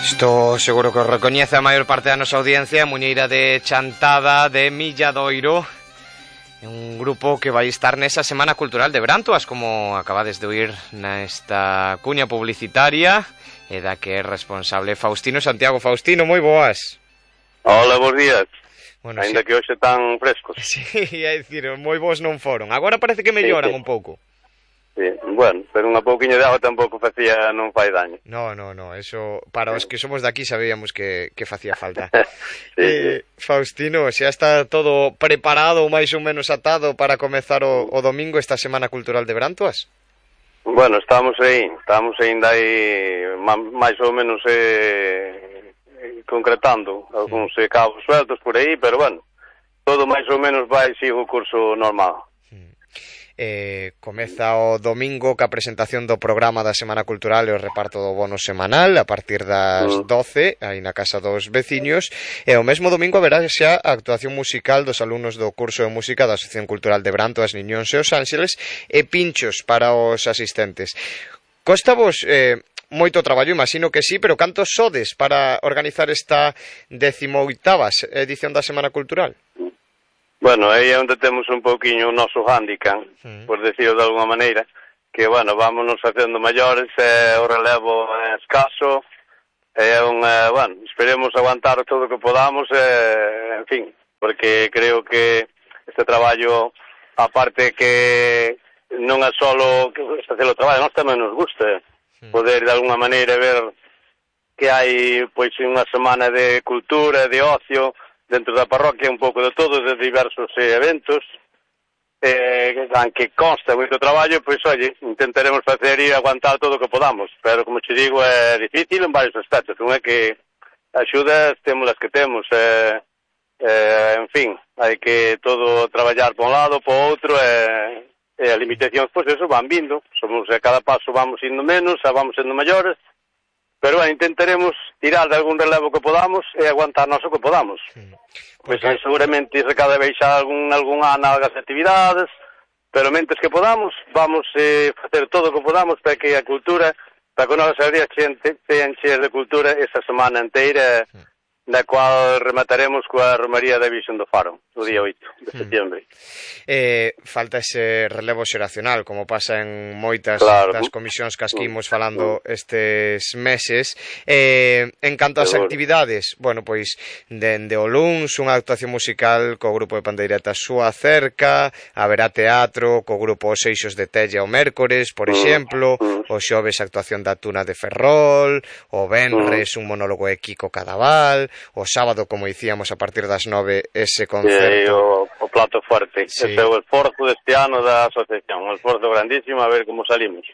Isto seguro que o recoñece a maior parte da nosa audiencia, Muñeira de Chantada de Milladoiro, un grupo que vai estar nesa Semana Cultural de Brantoas, como acabades de oír nesta cuña publicitaria, e da que é responsable Faustino Santiago. Faustino, moi boas. Hola, bons días. Bueno, ainda sí, que hoxe tan frescos. Sí, é dicir, moi bons non foron. Agora parece que melloran un pouco. Sí, bueno, pero unha pouquiño de agua tampouco non fai daño. No, eso para os que somos de aquí sabíamos que facía falta. Sí. Faustino, xa está todo preparado ou máis ou menos atado para comezar o domingo esta Semana Cultural de Brantoas? Bueno, estamos ainda aí máis ou menos concretando algúns cabos sueltos por aí, pero bueno, todo máis ou menos vai sigue o curso normal. Comeza o domingo ca presentación do programa da Semana Cultural e o reparto do bono semanal a partir das 12 aí na casa dos veciños, e o mesmo domingo haberá xa a actuación musical dos alumnos do curso de música da Asociación Cultural de Brantoas, Niñóns e Os Ángeles, e pinchos para os asistentes. Costa vos moito traballo, imagino que sí, pero cantos sodes para organizar esta 18ª edición da Semana Cultural? Bueno, aí é onde temos un pouquiño o noso hándicap, por decirlo de alguma maneira, que, bueno, vámonos facendo maiores, o relevo é escaso, bueno, esperemos aguantar todo o que podamos, en fin, porque creo que este traballo, aparte que non é solo facer o traballo, nós tamén nos gusta poder, de alguma maneira, ver que hai, pois, unha semana de cultura, de ocio, dentro da parroquia, un pouco de todo, de diversos eventos, aunque consta moito traballo, pois, oye, intentaremos facer e aguantar todo o que podamos, pero, como te digo, é difícil en varios aspectos, non é que axudas temos as que temos, en fin, hai que todo traballar por un lado, por outro, e as limitacións, pois, eso, van vindo, somos, a cada paso vamos indo menos, vamos sendo maiores, pero bueno, intentaremos tirar de algún relevo que podamos e aguantarnos o que podamos. Pois seguramente se cada vez xa algún ano algas actividades, pero mentes que podamos, vamos facer todo o que podamos para que a cultura, para que nós aldea tean cheas de cultura esta semana inteira, na cual remataremos coa Romaría da Virxen do Faro, o día 8 de setembro. Falta ese relevo xeracional, como pasa en moitas das comisións que imos falando estes meses. En canto ás actividades, bueno, pois, dende o luns, unha actuación musical co grupo de pandeiretas Súa Cerca, haberá teatro co grupo Os Eixos de Tella o mércores, por exemplo, o xoves actuación da Tuna de Ferrol, o venres un monólogo de Kiko Cadaval, o sábado, como dicíamos, a partir das 9 ese concerto. O plato fuerte. Sí. Ese é o esforzo deste ano da asociación, un esforzo grandísimo, a ver como salimos.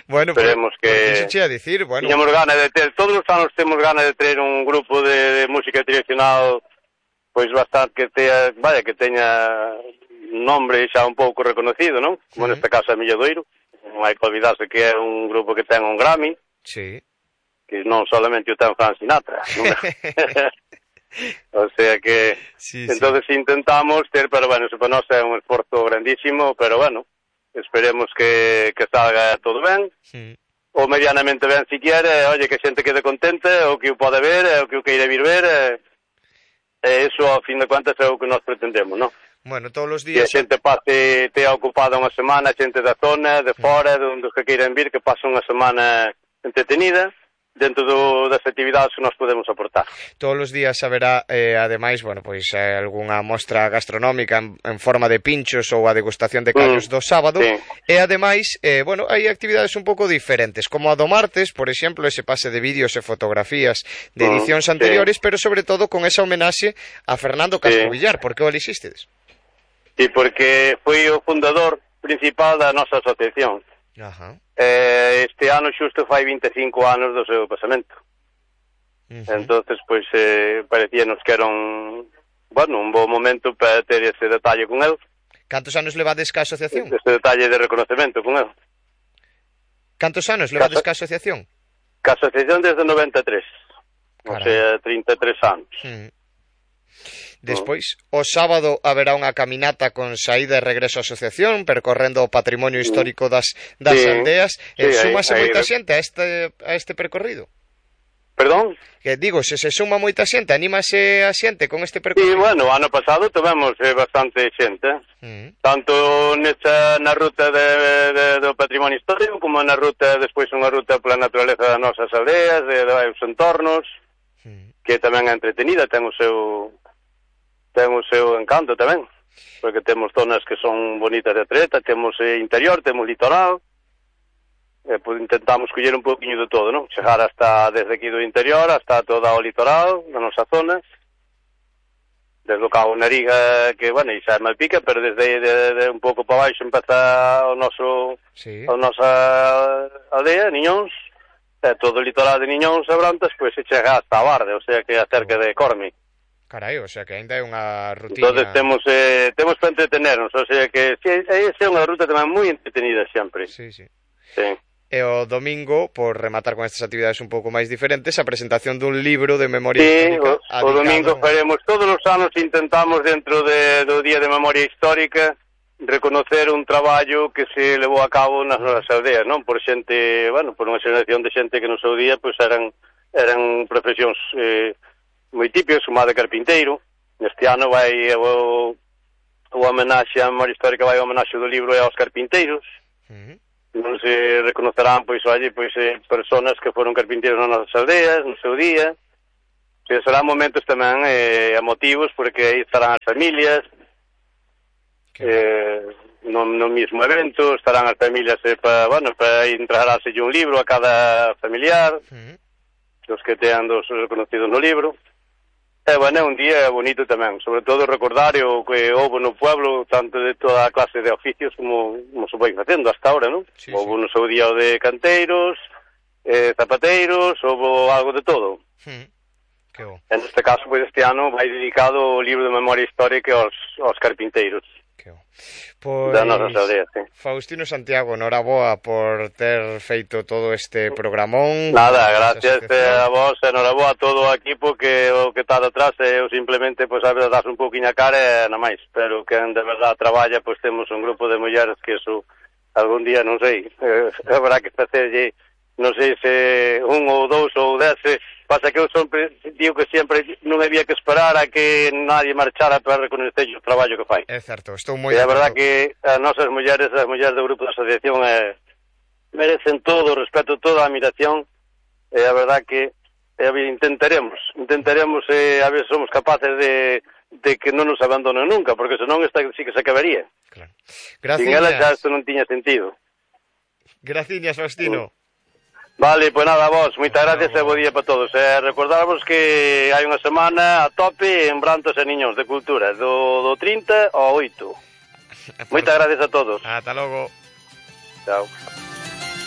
Bueno, esperemos que... Iso che a dicir, bueno... Tiñamos gana de ter, todos os anos temos gana de ter un grupo de música tradicional, pois bastante que teña un nombre xa un pouco reconocido, non? Como neste caso a Milladoiro, non hai que olvidarse que é un grupo que ten un Grammy. Sí. Que non solamente o ten Frank Sinatra, o sea que entonces intentamos ter, pero bueno, eso para nós é un esforzo grandísimo, pero bueno, esperemos que salga todo ben, ou medianamente ben si quere, oye, que a xente quede contenta, o que o pode ver, o que o queira vir ver, eso, ao fin de contas, é o que nós pretendemos, non? Bueno, todos os días... Que a xente pase, tea ocupada unha semana, a xente da zona, de fora, de onde os que queiran vir, que pase unha semana entretenida, dentro das actividades que nós podemos aportar. Todos os días haberá, ademais, bueno, pois algunha mostra gastronómica en forma de pinchos ou a degustación de callos do sábado, e ademais, bueno, hai actividades un pouco diferentes, como a do martes, por exemplo, ese pase de vídeos e fotografías de edicións anteriores, pero sobre todo con esa homenaxe a Fernando Castro Villar. Por que o elixistedes? Sí, porque foi o fundador principal da nosa asociación. Este ano xusto fai 25 anos do seu pasamento. Entonces, pois, parecíanos que era un bo momento para ter ese detalle con el. Cantos anos levades ca asociación? Ese detalle de reconocemento con el. Cantos anos levades ca asociación? Ca asociación desde 93, o sea, 33 anos. Despois, o sábado haberá unha caminata con saída e regreso á asociación, percorrendo o patrimonio histórico das aldeas. Súmase moita xente a este percorrido? Perdón? Que digo, se suma moita xente, anímase a xente con este percorrido? Sí, bueno, ano pasado tivemos bastante xente, tanto na ruta do patrimonio histórico como na ruta, despois unha ruta pola naturaleza das nosas aldeas, dos entornos, que tamén é entretenida, ten o seu encanto tamén, porque temos zonas que son bonitas de atleta, temos interior, temos litoral, pues intentamos coller un poquinho de todo, non? Chegar hasta desde aquí do interior hasta toda o litoral da nosa zona, desde o Cabo Nariga, que, bueno, xa é Malpica, pero desde un pouco para baixo empeza a nosa aldea, Niñóns, todo o litoral de Niñóns e Brantas, pois se chega hasta a Barde, o sea que é cerca de Corme. Carai, o sea que ainda é unha rutina... Entonces temos para entretenernos, o sea que esa é unha ruta tamén moi entretenida sempre. Sí, sí. Sí. E o domingo, por rematar con estas actividades un pouco máis diferentes, a presentación dun libro de memoria histórica. Sí, o domingo faremos, todos os anos intentamos dentro do Día de Memoria Histórica reconocer un traballo que se levou a cabo nas nosas aldeas, non? Por xente, bueno, por unha xeración de xente que no seu día pois eran profesións moi típicas, como a de carpinteiro. Este ano vai o homenaxe a memoria histórica, vai o homenaxe do libro aos carpinteiros. Non se reconocerán, pois, personas que foron carpinteiros nas nosas aldeas, no seu día. Serán momentos tamén emotivos, porque aí estarán as familias, no mismo evento, estarán as familias para entregarse un libro a cada familiar, os que tean dos reconocidos no libro. É un día bonito tamén, sobre todo recordar o que houve no pueblo, tanto de toda a clase de oficios como se vai facendo hasta ahora, non? Sí, houve no seu día o de canteiros, zapateiros, houve algo de todo. Que bo. En este caso, pois, este ano vai dedicado o libro de memoria histórica aos carpinteiros. Que bo. Pois, da nosa aldea, sí. Faustino Santiago, noraboa por ter feito todo este programón. Nada, gracias a vos, noraboa a todo o equipo que o que está detrás, eu simplemente, pois, a veces das un pouquinho a cara e nada máis, pero que de verdade traballa, pois temos un grupo de mulleres que eso algún día, non sei, habrá que facerlle, non sei se un ou dous ou 10, pasa que eu sempre digo que sempre non había que esperar a que nadie marchara para reconocer o traballo que fai. É certo, estou moi... E a verdad que as nosas mulleres, as mulleres do grupo da asociación merecen todo o respeto, toda a admiración, e a verdad que intentaremos a ver se somos capaces de que non nos abandonen nunca, porque senón esta sí que se acabaría. Claro. Sin elas xa isto non tiña sentido. Graciñas, Faustino. Vale, pois nada, vos, moitas gracias e bo día para todos. Recordarvos que hai unha semana a tope en Brantas e Niñóns de Cultura, do 30 ao 8. Moitas gracias a todos. Ata logo. Chao.